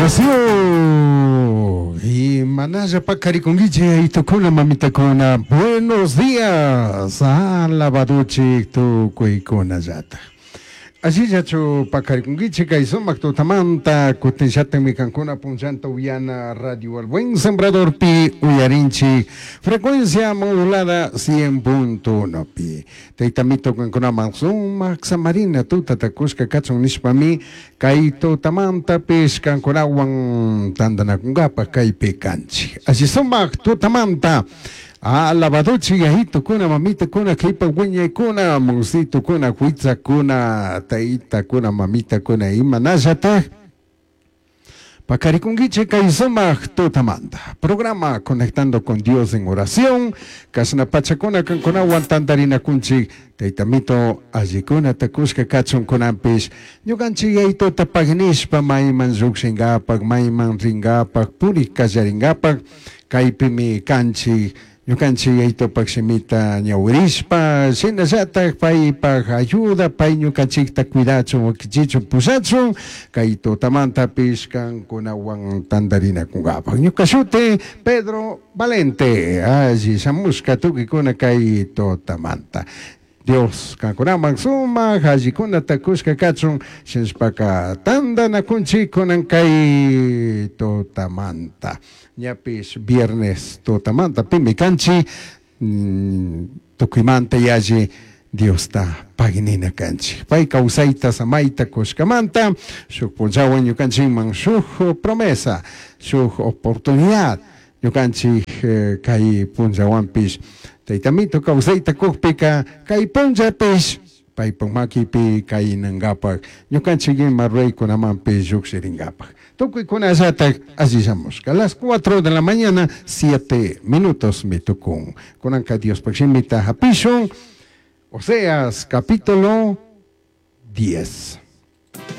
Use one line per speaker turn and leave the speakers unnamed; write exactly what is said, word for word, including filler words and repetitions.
Oración. Y manalla pakarikunkichik yayitukuna mamitakuna. Buenos días. Alabaduchik tukuykunallataj. Allillachu pakarikunkichik kay sumak tutamanta kutinllatakmi kankuna punllanta uyana Radio El Buen Sembradorpi uyarinchik frecuencia modulada cien punto uno pi. Taytamito kankunaman sumak samarina tutata kushka kachun nishpami kay tutamantapish kankunawan tantanakunkapak kaypi kanchik. Alli sumak tutamanta. Alabaduchi yayitukuna, mamitakuna, kaypa wiñaykuna, musitukuna, huitzakuna, taytakuna, mamitakuna, imanallataj. Pakarikunkichik kay sumak tutamanta. Programa Conectando con Dios en Oración. Kashna pachakuna kankunawan tantarinakunchik. Taytamito allikuna takushka kachun kunanpish. Ñukanchik yayituta pagnishpa mayman llukshinkapak, mayman rinkapak, purik kallarinkapak. Kaypimi kanchik. Ñukanchik yayitupak shimita ñawirishpa, shinallatak paypak ayuda, pay ñukanchikta cuidachun, wakichichun, pushachun, kay tutamantapish kankunawan tantarinakunkapak. Ñuka shuti Pedro Valente, alli shamushka tukuykuna kay tutamanta. Dios kankunaman sumak allikunata kushka kachun, shinashpaka tantanakunchik kunan kay tutamanta. Ñapish viernes tutamanta pimi kanchi, mm, tukuymanta yalli Diosta paginina kanchik. Pay kawsayta samayta kushkamanta, shuk punchawan ñukanchikman shuk promesa, shuk oportunidad ñukanchik, eh, kay punchawanpish taytamito kawsayta kukpika kay punchapish paypak makipi kaynankapak ñukanchik ima ruraykunamanpish llukshirinkapak. Tukuykunallatak allishamushka. Las cuatro de la mañana, siete minutos mi tukun. Kunanka Diospaj shimita hapishun. Oseas capítulo diez.